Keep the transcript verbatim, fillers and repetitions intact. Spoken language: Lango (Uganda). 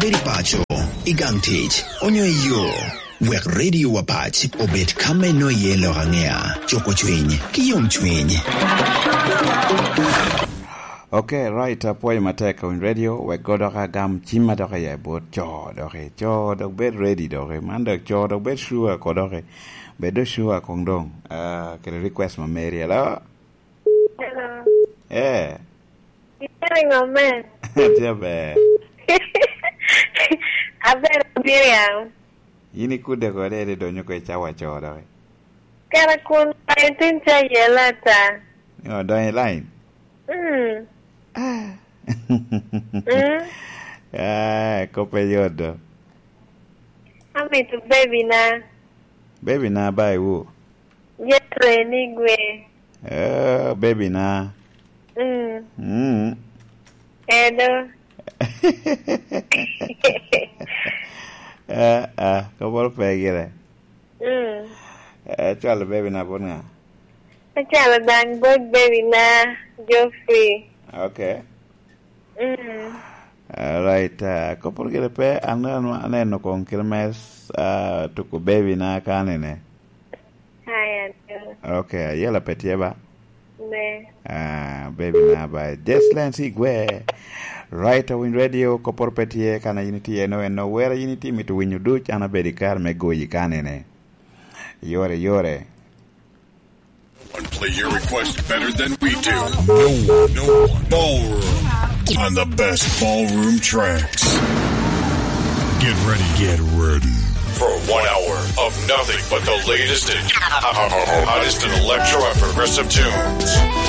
Bed i paco, i gang tic, onyo i yo. Wek Radio Wapac obed ka me no iye lok aŋea, cuko cwiny, ki yom cwiny. Ok, right, apwoyo matek Kawiny Radio, wek go dok agam cimma dok i bot co dok i co, dok bed ready dok i man dok co, dok bed sure ko dok i, bed do sure kong dong, ah, kede request ma meri, hello? Hello. Eh. Itye ŋo men? Atye aber. Aber Miriam. In ikudde kode, ede donyo ko i cawa co dok i. Kara kun line tin ca yela ata. Ni odonyo i line? Mm. Ah. Mm. Ah, kope yot do. Amito baby na. Baby na ba iwu? Jeffrey ni gwe. Eh, baby na. Mm. Mm. Edo. Eh, eh, kopo pe gire. Mm. Eh, cwalo baby na bot ŋa? Acalo dang bot baby na, Geoffrey. Ok. Mm. Alright, ah, kopo gire pe, an, an, aneno kong kite me, ah, tuko baby na kanene. Aya, do. Ok, ayela pe tye ba? Ne. Ah, baby na ba. Just Lens Igwe. Right, Awiny Radio, kopo pe tye, kana yin itye, no, en no, wera yin itye mito winyo duc, an abedo i kare me goyi kanene. Yore, yore. One play your request better than we do. No one, no one. Ballroom. On the best ballroom tracks. Get ready, get ready. For one hour of nothing but the latest and hottest in electro and progressive tunes.